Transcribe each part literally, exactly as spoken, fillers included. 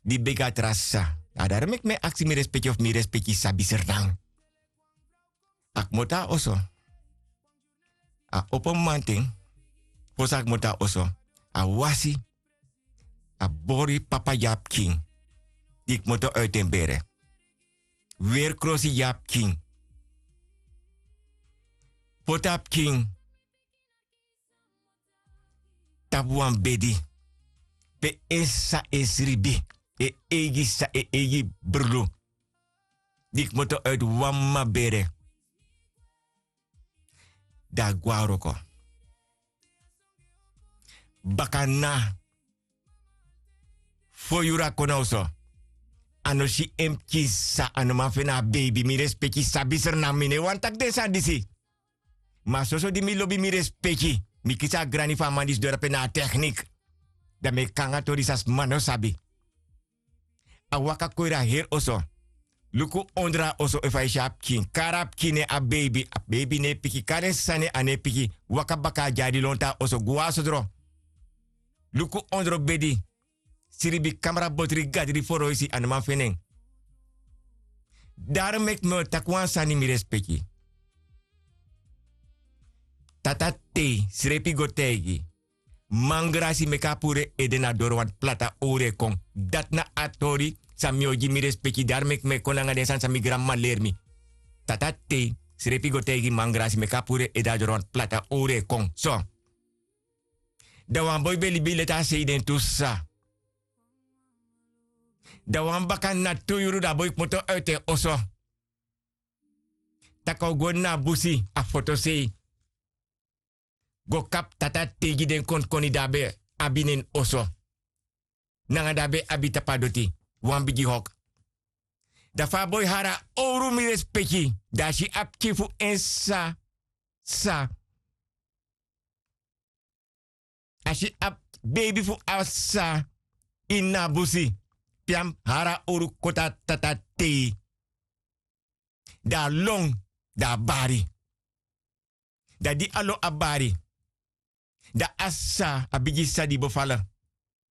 di begi a tra sisa. A daro meki mi e aksi mi respeki of mi respeki sabi sernan. A kmoto na oso. A opo mamanten. Fosi a kmoto na oso, a wasi. A bori papa gi a pikin di kmoto uiti en bere. Weri krosi gi a pikin. Poti a pikin tapu wan bedi pe en sisa e sribi. En eigi sisa, en eigi brudu di kmoto uiti wan mama bere. Dan a gwe na wroko. Baka na fo yuru a kon na oso. A no si en pikin sisa, a no man feni a beibi. Mi respeki sabi sernan, mi no e wani taki den sani disi. Ma soso di mi lobi mi respeki, mi kisi a grani fu a man disi doro ape na a teknik. Dan mi e kon nanga tori san sma no sabi. A waka kon iri a heri oso. Luku ondro a oso efu a e si a pikin. Kari a pikin nen, a beibi, a beibi no e piki. Kari en sisa nen, a no e piki. Waka baka a dyari lontu a oso gwe na sodro. Luku ondro bedi, sribi, kamra, botri, gadri, foroisi, a no man feni en. Daro meki mi o taki wan sani, mi respeki. Tata Tei srefi go taigi. Man grasi meki a puru en ede na doro, want plata owru e kon. Dati na a tori san mi o gi mi respeki. Dati meki mi e kon nanga den sani san mi granmama leri mi. Tata Tei srefi go taigi Man grasi meki a puru en ede na doro, want plata owru e kon. So. Dan wan boi ben libi leti a sei den tu sisa. Dan wan baka na tu yuru dan a boi kmoto uiti en oso. Taki a o go na a busi, a fotosei, go kapu Tata Tei gi den konkoni di a ben abi na en oso, nanga di a ben abi tapu a doti, wan bigi hok. Dan fa a boi hari a owru, mi respeki, dan a si a pikin fu en sisa, sisa. A si a beibi fu a sisa ini a busi, pe a mus hari a owru koti a Tata Tei. Dan a lon, dan a bari. Dan di a lon, a bari, dan a sisa, a bigi sisa di bofala,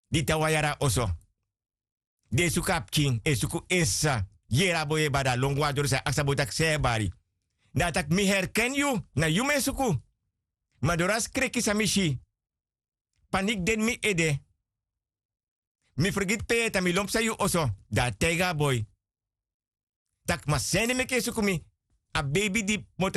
di tan wan yari na oso, di e suku a pikin, e suku en sisa, yere a boi e bari, a lon go na doro, san e aksi a boi taki san yu e bari. Dan a taki mi herken yu, na yu mi e suku. Ma doro a skreki san mi si, paniki de ini mi ede. Mi fergiti pe yu e tan, mi lon psa yu oso. Dan a taigi a boi taki ma sani meki yu e suku mi. A beibi di kmoto